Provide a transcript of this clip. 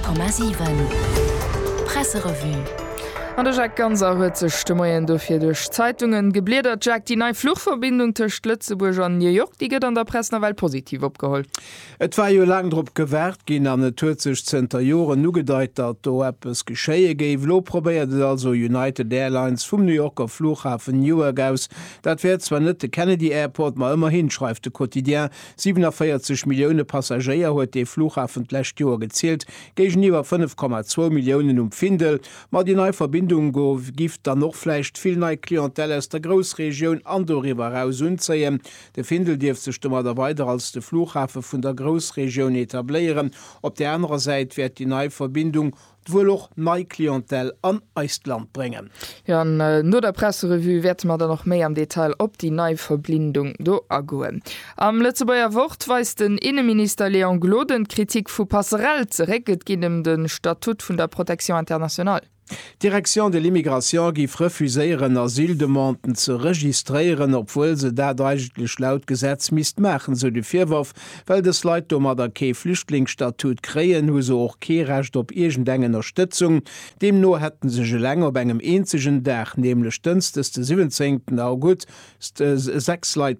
100,7 Presserevue. An de Jacques Ganser huet sech de Moien dofir duerch d'Zeitungen gebliedert. Jacques, déi nei Fluchverbindung tëscht Lëtzebuerg an New York, déi gëtt an der Press nawell positiv opgeholl. Et war jo laang drop gewaart ginn an et huet sech zënter Joren ugedeit, datt do eppes geschéie géif. Elo probéiert et also United Airlines vum New Yorker Flughafen Newark aus. Dat wär zwar net de Kennedy Airport, ma ëmmerhin, schreift de Quotidien. 47 Millioune Passagéier huet dee Flughafen d'lescht Joer gezielt, géigeniwwer 5,2 Milliounen um Findel. Ma déi nei Verbindung giff dann och vläicht vill nei Clientèle aus der Groussregioun an doriwwer eraus unzéien. De Findel dierft sech domadder weider als de Flughafe vun der Groussregioun etabléieren. Op där anerer Säit wäert déi nei Verbindung Wuel och nei Clientèle an eist Land bréngen. Jo, an no der Presserevue wäerte mer dann och méi am Detail op déi nei Verblindung do agoen. Am Lëtzebuerger Wort weist den Inneminister Léon Gloden d'Kritik vu Passerell zeréck. Et geet ëm de Statut vun der Protection internationale. D'Direction de l'immigration géif refuséieren, Asyldemanden ze registréieren, obwuel se dat eigentlech laut Gesetz misst maachen, sou de Virworf. Well dës Leit domadder kee Flüchtlingsstatut kréien, hu se och kee Recht op iergendeng Ënnerstëtzung. Deemno hätten sech eleng op engem eenzegen Dag, nämlech dënschdes de 17 August, 6 Leit.